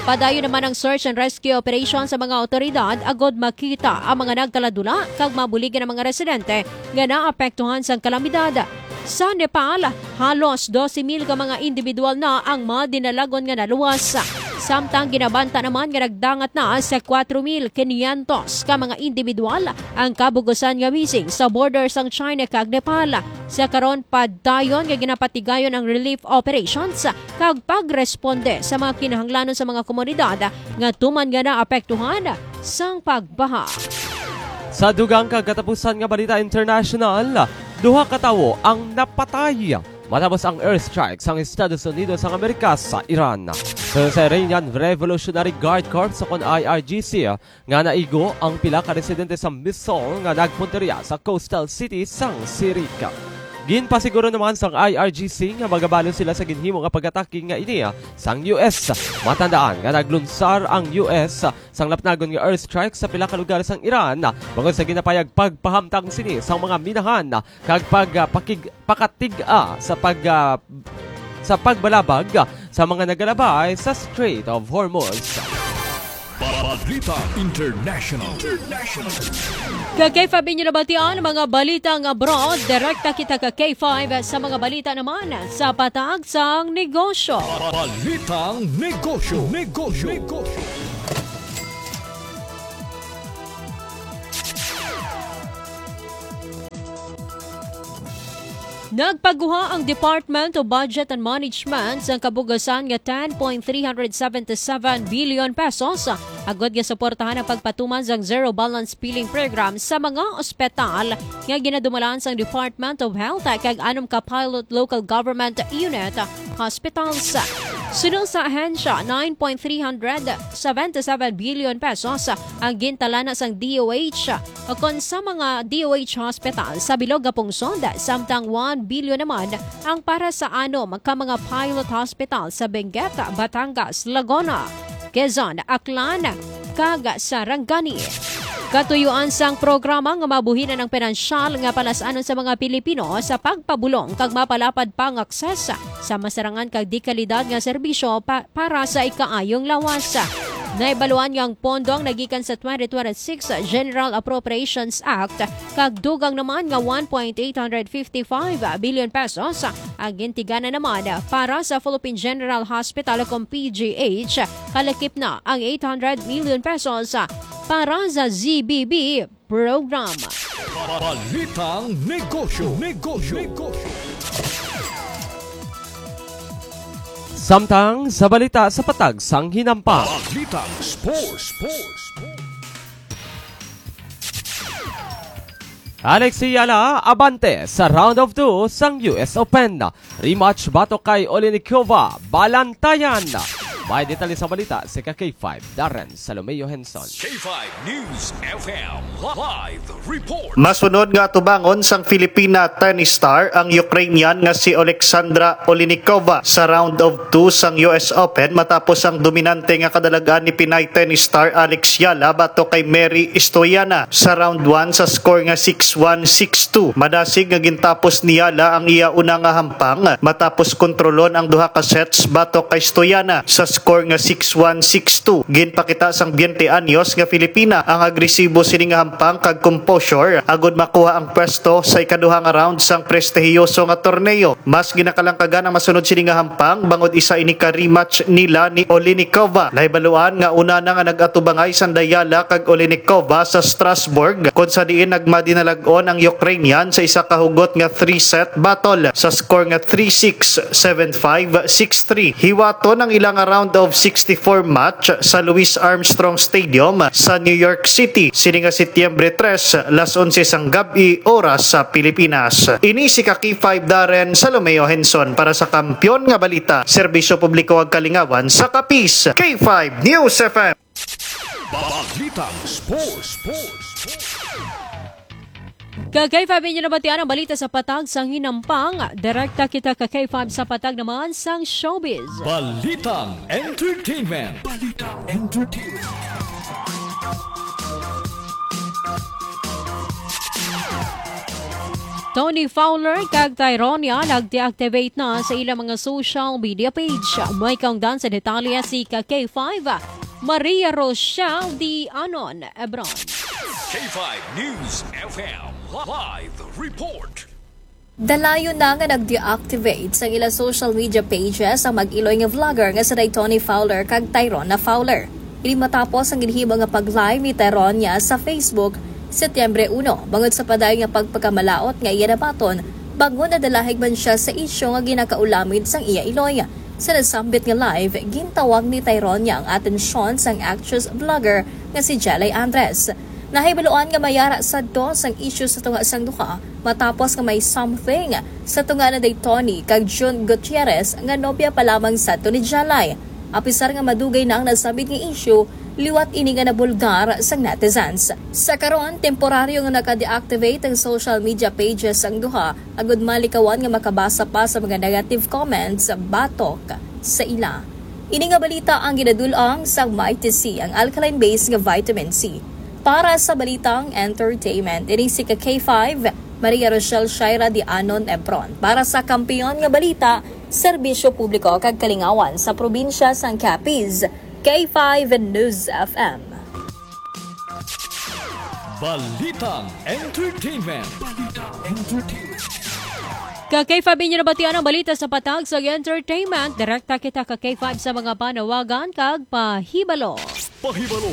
Padayon naman ang search and rescue operation sa mga awtoridad agud makita ang mga nagkaladula kag mabuligan ang mga residente nga naapektuhan sang kalamidad. Sa Nepal, halos dose mil ka mga individual na ang madinalagon nga naluwas, samtang ginabanta naman nga nagdangat na sa kuwatro mil kinyentos ka mga individual ang kabug-usan nga missing sa border sang China kag Nepal. Sa karon, padayon nga ginapatigayon ang relief operations kag pagresponde sa mga kinahanglanon sa mga komunidad nga tuman nga naapektuhan sang pagbaha. Sa dugang kag katapusan nga balita international, duha ka tawo ang napatay matapos ang airstrike sang Estados Unidos sang Amerika sa Iran. Sa Iranian Revolutionary Guard Corps o kon I R G C, nga naigo ang pila ka residente sa missile nga nagpunteriya sa coastal city sang Sirik. Ginpasiguro naman sang I R G C nga magabalo sila sa ginhimo nga pag-atake nga ini sang U S. Matandaan nga naglunsar ang U S sang lapnagon nga airstrike sa pila ka lugar sang Iran, bangod sa ginapayag pagpahamtang sini sang mga minahan kag pag, ah, pakig-, pakatig-a sa pag, ah, sa pagbalabag sa mga nagalabay sa Strait of Hormuz. Balita International. International. Ka K five inyo nabatian ang mga balitang abroad. Direkta kita ka K five sa mga balita naman sa patag sang negosyo. Balitang negosyo. Negosyo. Negosyo. Nagpaguha ang Department of Budget and Management sang kabugasan nga ten point three hundred seventy-seven billion pesos agod nga suportahan ang pagpatuman sang zero balance billing program sa mga ospital nga ginadumalan sang Department of Health kag anom ka pilot local government unit hospitals. Suno sa ahensya, nine point three hundred seventy-seven billion pesos ang gintalana sang D O H ukon sa mga D O H hospital sa bilog nga pungsod, samtang one billion naman ang para sa anom ka mga pilot hospital sa Benguet, Batangas, Laguna, Quezon, Aklan, kag Sarangani. Katuyuan sang programa nga mabuhinan ang pinansyal nga palas-anon sa mga Pilipino sa pagpabulong kag mapalapad pa ang akses sa masarangan kag dikalidad nga serbisyo pa-, para sa ikaayong lawas. Nahibaluan nga ang pondo ang nagikan sa twenty twenty-six General Appropriations Act kag dugang naman nga one point eight hundred fifty-five billion pesos ang gintigana naman para sa Philippine General Hospital o kung P G H, kalakip na ang eight hundred million pesos para sa Z B B program. Balitang negosyo, negosyo, negosyo. Samtang sa balita sa patag sang hinampang. Balitang sports, sports, sports. Alex Eala abante sa round of two sang U S Open. Rematch batok kay Olinikova, balantayan. May detalye sa balita si ka K five, Darren Salomeo Henson. K five News F M live report. Masunod nga atubangon sang Filipina tennis star ang Ukrainian nga si Alexandra Olinikova sa round of two sang U S Open matapos ang dominante nga kadalagan ni Pinay tennis star Alex Eala batok kay Mary Stoyana sa round one sa score nga six one, six two. Madasig nga gintapos ni Eala ang iya una nga hampang matapos kontrolon ang duha ka sets batok kay Stoyana sa score nga six one, six two. Ginpakita sang twenty anyos nga Filipina ang agresibo sini nga hampang kag composure agud makuha ang pwesto sa ikaduha nga round sang prestihiyoso nga torneo. Mas ginakalangkagan ang masunod sini nga hampang bangod isa ini ka rematch nila ni Olinikova. Nahibaluan nga una na nga nag-atubangay sang Eala kag Olinikova sa Strasbourg, kon sa diin nagmadinalag-on ang Ukrainian sa isa ka hugot nga three-set battle sa score nga three six, seven five, six three. Hiwaton ang ila nga round of sixty-four match sa Louis Armstrong Stadium sa New York City sini nga Setyembre tres, las onse sang gab-i, oras sa Pilipinas. Ini si ka K five Darren Salomeo Henson para sa Kampiyon nga Balita, Serbisyo Publiko ug Kalingawan sa Capiz, K five News F M. Balitang Sports, Sports, Sports. Ka K five inyo nabatian ang balita sa patag sang hinampang. Direkta kita ka K five sa patag naman sang showbiz. Balitang Entertainment. Balitang Entertainment. Toni Fowler kag Tyronia nag-deactivate na sa ilang mga social media page. May kaungdan sa detalye si ka K five, Maria Rochelle D. Anon Ebron. K five News F M live report. Dalayon na nga nag-deactivate sa ila social media pages ang mag-iloy nga vlogger nga si Toni Fowler kag Tyrona Fowler. Ini matapos ang ginhimo nga pag-live ni Tyronia sa Facebook, Setyembre uno, bangod sa padayon nga pagpakamalaot nga iya nabaton bangod nadalahig man siya sa isyu nga ginakaulamid sang iya iloy. Sa nasambit nga live, gintawag ni Tyronia ang atensyon sang actress vlogger nga si Jelay Andres. Nahibaluan nga may ara sadto sang isyu sa tunga sang duha matapos nga may something sa tunga ni Toni kag Jun Gutierrez nga nobya pa lamang sadto ni Jelay. Apisar nga madugay na ang nasambit nga isyu, Liwat ini nga nabulgar sang netizens. Sa karon, temporaryo nga naka-deactivate ang social media pages sang duha, agud malikawan nga makabasa pa sa mga negative comments batok sa ila. Ini nga balita ang ginadul-ong sang Mighty C, ang alkaline base nga vitamin C. Para sa balitang entertainment, ini si ka K five, Maria Rochelle Shaira de Anon Ebron. Para sa Kampiyon nga Balita, Serbisyo Publiko kag Kalingawan sa Probinsya sang Capiz, K five News F M. Balitang Entertainment. Balitang Entertainment. Ka K five, inyo nabatian ang balita sa patag sa entertainment. Direkta kita ka K five sa mga panawagan kag pahibalo. Pahibalo,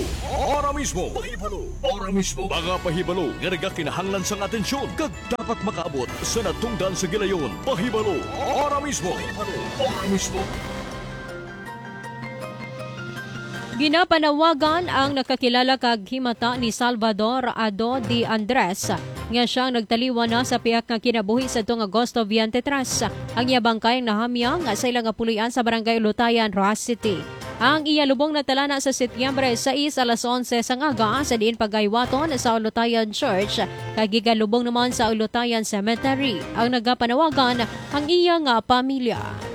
ora mismo. Pahibalo, ora mismo. Mga pahibalo nga nagakinahanglan sang atensyon kag dapat makaabot sa natungdan sa gilayon. Pahibalo, ora mismo. Pahibalo, ora mismo. Ginapanawagan ang nakakilala kag himata ni Salvador Ado de Andres, nga siya ang nagtaliwan na sa pihak nga kinabuhi sadtong Agosto twenty-three. Ang iya bangkay ang nahamyang sa ila nga puloy-an sa Barangay Ulutayan, Roxas City. Ang iya lubong natala na sa Setyembre sais, alas onse sang aga, sa diin pagaywaton sa Ulutayan Church, kag igalubong naman sa Ulutayan Cemetery. Ang nagapanawagan ang iya nga pamilya.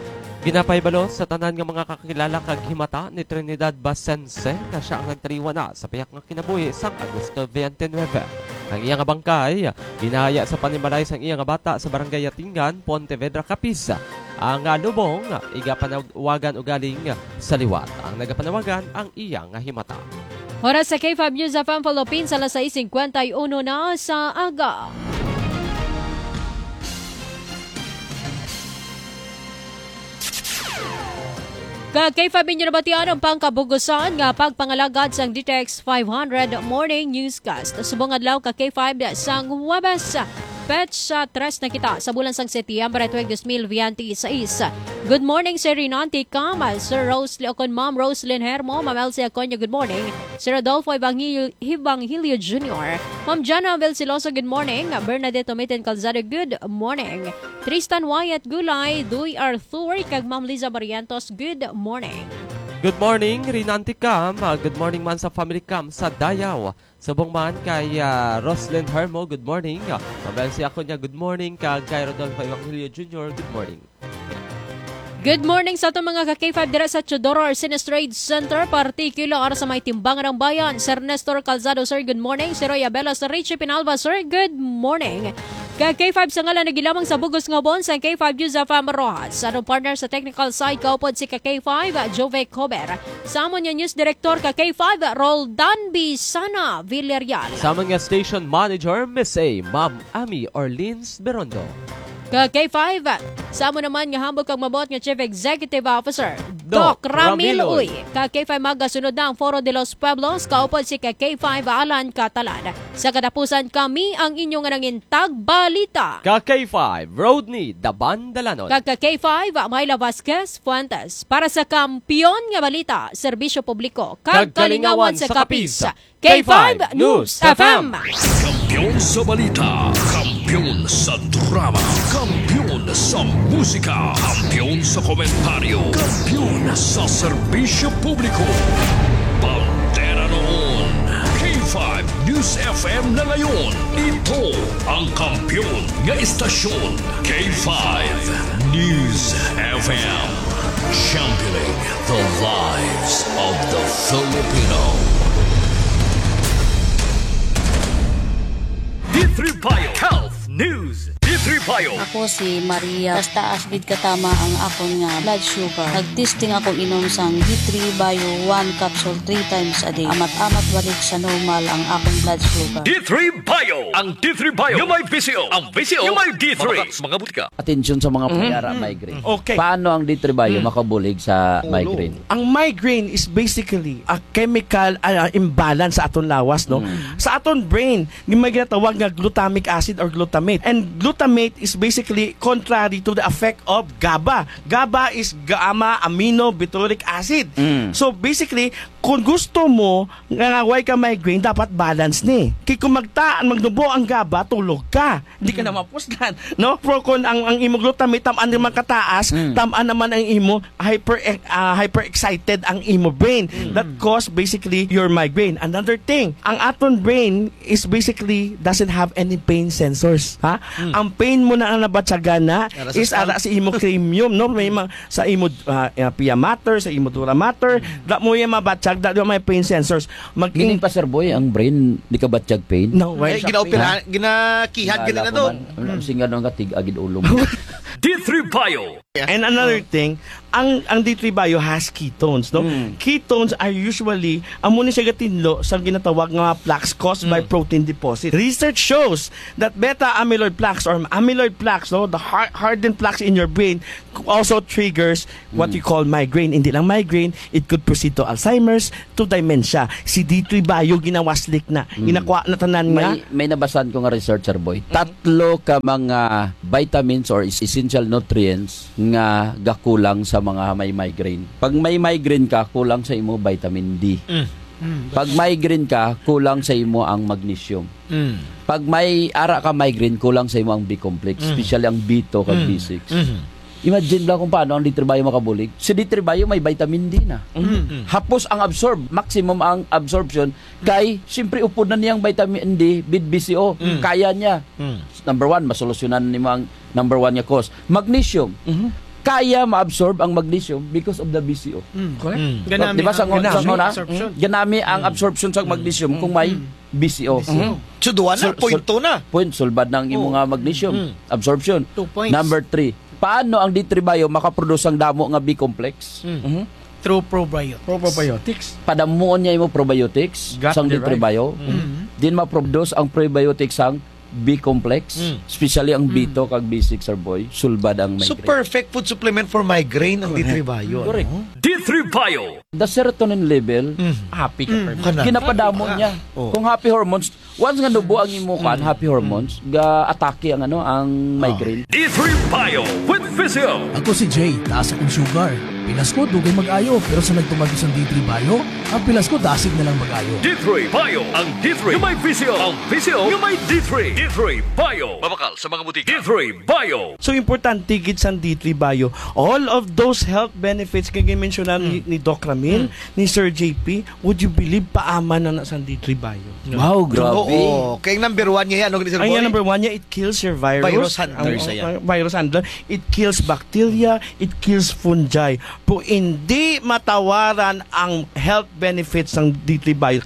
Ginapahibalo sa tanan nga mga kakilala kag himata ni Trinidad Basense nga siya ang nagtaliwan na sa pihak nga kinabuhi sang Agosto twenty-nine. Ang iya nga bangkay ginahaya sa panimalay sang iya nga bata sa Barangay Yatingan, Pontevedra, Capiz. Ang, ah, lubong igapanawagan ugaling sa liwat. Ang nagapanawagan ang iya nga himata. Oras sa K five News F M Philippines, alas sais cincuenta y uno na sa aga. Ka K five, inyo nabatian ang pangkabugusan nga pagpangalagad sang D T X five hundred Morning Newscast. Subong adlaw ka K five sang Huwebes, petsa tres na kita sa bulan sang Setyembre tuig dos mil veintiséis. Good morning, Sir Rinante Cam, Sir Rosely Ocon, Ma'am Roslyn Hermo, Ma'am Elsie Aconio, good morning. Sir Rodolfo Evangel-, Evangelio Junior, Ma'am Jana Velciloso, good morning. Bernadette Tomitin Calzado, good morning. Tristan Wyatt Gulay, Duy Arthur, kag Ma'am Liza Barrientos, good morning. Good morning, Rinante Cam. Ah, good morning man sa family Cam sa Dayaw. Subong man kay, ah, Roslyn Hermo, good morning. Ah, Mabel si Acuña, good morning. Kag kay Rodolfo Evangelio Junior, good morning. Good morning sa aton mga ka K five dira sa Teodoro Arcenes Trade Center, partikular sa may Timbangan ng Bayan. Sir Nestor Calzado, sir, good morning. Si Roy Abela, Sir Richie Pinalba, sir, good morning. Ka K five sa ngalan nagilamang sa bugos nga bon sa K five News F M Roxas. Sa atong partner sa technical side, kaupod si ka K five, Jove Cober. Sa amon nga news director, ka K five, Roldan Bisana Villarreal. Sa amon nga station manager, Miss A, Ma'am Ami Orleans Berondo. Ka K five, sa amo naman nga hambog kag mabuot nga Chief Executive Officer, Doc Doc Ramil Ramil Uy. Uy. Ka K five, magasunod na ang Foro de los Pueblos, kaupod si ka K five Alan Catalan. Sa katapusan, kami ang inyo nga nangintag balita. Ka K five, Rodney Daban Dalanon. Kag ka K five, Myla Vasquez Fuentes. Para sa Kampiyon nga Balita, Serbisyo Publiko, kag Kag Kalingawan Kalingawan sa sa Capiz. Capiz. K five News F M. Kampiyon sa balita, kampiyon sa drama, kampiyon sa musika, kampiyon sa komentaryo, kampiyon sa serbisyo publiko. Bandera noon, K five News F M na ngayon. Ito ang kampiyon nga istasyon, K five News F M. Championing the lives of the Filipino. D three Bio Health News. D three Bio. Ako si Maria. Taas-taas gid katama ang akon nga blood sugar. Nag-testing ako inom sang D three Bio one capsule three times a day. Amat-amat balik sa normal ang akon blood sugar. D three Bio. Ang D three Bio nga may V C O. Ang V C O nga may D three. Mabakak sa mga butika. Atensyon sa mga Mhm. payara Mm. migraine. Okay. Paano ang D three Bio Mm. makabulig sa Ulo. migraine? Ang migraine is basically a chemical, ah, imbalance sa aton lawas, no? Mm. Sa aton brain, may ginatawag nga glutamic acid or glutamate. And glutamate is basically contrary to the effect of GABA. GABA is gamma aminobutyric acid. Mm. So basically, kung gusto mo nga way ka migraine, dapat balance ni. Kay kung magtaan, magnubo ang GABA, tulog ka. Hindi ka na mapuslan, no? Pero kung ang, ang imo glutamate, tamaan naman kataas, Mm. tamaan naman ang imo hyper, ah, hyper excited ang imo brain. Mm. That cause basically your migraine. Another thing, ang aton brain is basically doesn't have any pain sensors, ha? Mm. Ang pain mo na ang nabatyagan na Ara sa is skull. ara sa imo cranium, no? May ma-, sa imo, ah, ah, pia mater, sa imo dura mater, Mm. da mo yung mabatyag, da mo may pain sensors. Mag- Meaning, Pastor Boy, ang brain, di ka batyag pain? No, why Ay, siya ginaoperahan, pain? ginakihad Kilala gani na ko doon. man. Ang, ang Mm. singa nung katig, agid ulo mo. D three Bio. And another Oh. thing, ang, ang D three Bio has ketones, no? Mm. Ketones are usually, amo ni siya gatinlo sa ginatawag nga plaques caused by Mm. protein deposit. Research shows that beta amyloid plaques or amyloid plaques, no, the har-, hardened plaques in your brain also triggers what Mm. you call migraine. Hindi lang migraine, it could proceed to Alzheimer's, to dementia. Si D three Bio ginawaslik na. Mm. Ginakuha na tanan nga. May, may nabasan ko nga research, Sir Boy. Mm. Tatlo ka mga vitamins or es-, essential nutrients nga gakulang sa mga may migraine. Pag may migraine ka, kulang sa imo vitamin D. Mm. Mm. Pag migraine ka, kulang sa imo ang magnesium. Mm. Pag may ara ka migraine, kulang sa imo ang B complex, Mm. especially ang B two kag Mm. B six. Mm. Imagine lang kung paano ang D three Bio makabulig. Si D three Bio may vitamin D na. Mm. Hapos ang absorb, maximum ang absorption kay siyempre upod na niyang vitamin D with B C O. Mm. Kaya niya. Mm. Number one, masolusyonan nimo ang number one nga cause. Magnesium. Mhm. Kaya ma-absorb ang magnesium because of the B C O. Mm. Correct. Mm. Ganami Di ba sa ang ngon-, sa magnesium ngona? Absorption. Ganami ang Mm. absorption sa Mm. magnesium kung may Mm. B C O. B C O. Mhm. So, duwa na, Sul-, point sul-, two na. Point, sulbad na ang imo Oh. nga magnesium Mm. absorption. Two points. Number three, paano ang D three Bio makaproduce ang damo nga B complex? Mm. Mhm. Through probiotics. Probiotics. Padamuon niya imo probiotics Gut sang D three Bio. derived. Mm. Mm. Din ma-produce ang probiotics sang B complex, Mm. especially ang Mm. B two kag B six, Sir Boy, sulbad ang So, migraine. perfect food supplement for migraine ang Correct. D three Bio, Correct. no? D three Bio. The serotonin level, Mm. Happy ka, Mm. Perfect. Kana. ginapadamo Happy ka. niya. Oh. Kung happy hormones, once nga nubo ang imo kan, Mm. happy hormones, Mm. ga-atake ang, ano, ang Oh. migraine. D three Bio with Visio. Ako si Jay, taas akong sugar. Pilas ko, dugay mag-ayo, pero sa nagtumag sa D three Bio, ang pilas ko dasig na lang mag-ayo. D three Bio, ang D three nga may Visio, ang Visio nga may D three. D three Bio. Mabakal sa mga butika. D three Bio. So, importante gid sang D three Bio. All of those health benefits nga ginmensyonan ni, Mm. ni Doc Ramil, Mm. ni Sir J P, would you believe, paaman na na sang D three Bio? Wow, grabe. Oo. Kay number one niya yan, no, Sir Ang Boy? yan, number one niya, it kills your virus. Virus handler Ang, siya yan. ang virus handler. It kills bacteria, it kills fungi. Po, hindi matawaran ang health benefits ng D three Bio.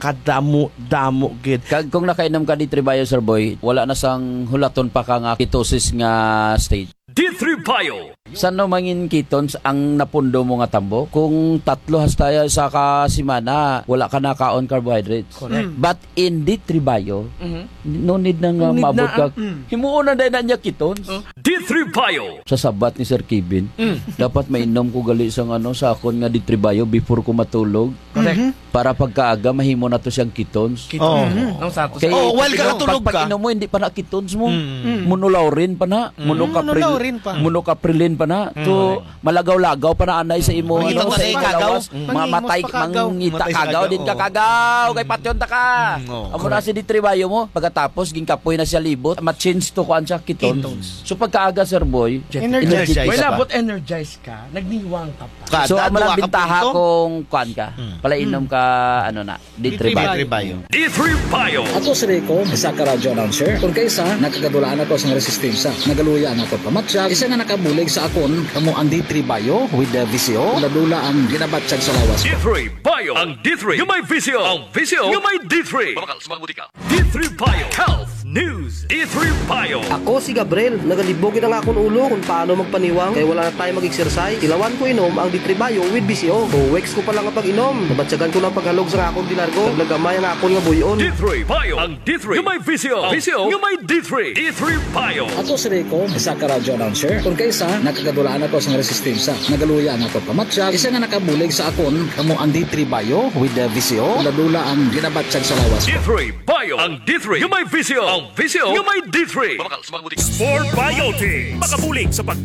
Kadamo-damo gid. Kag kung nakainom ka D three Bio, Sir Boy, wala na sang hulaton pa ka nga ketosis nga state. D three Bio. San-o mangin ketones ang napundo mo nga tambo? Kung tatlo hasta sa ka semana, wala ka nakaon carbohydrates. Correct. Mm. But in D three Bio, Mhm. no need na nga Ang need maabot na, ka. ah, mm. Himuon na dahil na niya ketones. Oh. D three Bio. Sa sabat ni Sir Kevin, Mm. dapat mainom ko gali sang, ano, sa akon nga D three Bio before ko matulog. Correct. Mhm. Para pagkaaga, mahimo na to siyang ketones. Ketones. Oo. Mhm. Ang sato Kay sa Oh, while pag-inom, kakatulog pag, ka. pag-inom mo, hindi pa na ketones mo. Mm. Mm. Monolaurin pa na. Mm. Monocapril-, Monolaurin pa. monocaprilin pa na. Mm. To, Correct. malagaw-lagaw pa na anay sa imo, Mangita ano, pa sa sa imo kagaw. lawas. Mm. Mamatay, Mangimos pa kagaw. mangita Matay sa kagaw, kagaw, din ka oo. kagaw. Kay patyon ta ka. Mm, oo. Amo na Correct. si D three Bio mo. Pagkatapos, ginkapos na siya libot. Ma-change to kuan siya, ketones. Ketones. So, pagkaaga, Sir Boy, Jet. energetic Energize ka. Wala, ka. but energize ka. Nagniwang ka pa. Kada So, amo duha lang ka bintaha punto? kung kuan ka. Hmm. Palainom Hmm. ka, ano na, D three D three Bio. Bio. D three Bio. Ako si Rico, isa ka radyo announcer. Kung kaisa, nakagadulaan ako sa resistensya. Nagaluya na ako pamatyag. Isa nga nakabulig sa akon, kamo ang D three Bio with the V C O. Dula-dula ang ginabatyag sa lawas ko. D three Bio. Ang D three nga may V C O. Ang V C O nga may D three. Mabakal sa mga butika. D three Bio Health News. D three Bio. Ako si Gabriel, nagalibog gid ang akon ulo kung paano magpaniwang kay wala na tayo mag-exercise. Tilawan ko inom ang D three Bio with V C O. Two weeks ko pa lang ang pag-inom, nabatyagan ko ng paghalog sa akon di largo. Naglagamay ang akon nga buyon. D three Bio. Ang D three nga may V C O. V C O nga may D three. D three Bio. Ako si Rico, isa ka radyo announcer. Kung kaisa, nakagadulaan ako sa resistensya. Nagaluya ang akon pamatyag. Isa nga nakabulig sa akon, kamo ang D three Bio with the V C O. Dula-dula ang ginabatyag sa lawas ko. D three Bio. Ang D three nga may V C O. Visyo nga may D three. Mabakal sa mga butika. Sport Biotics. Makabulig sa pag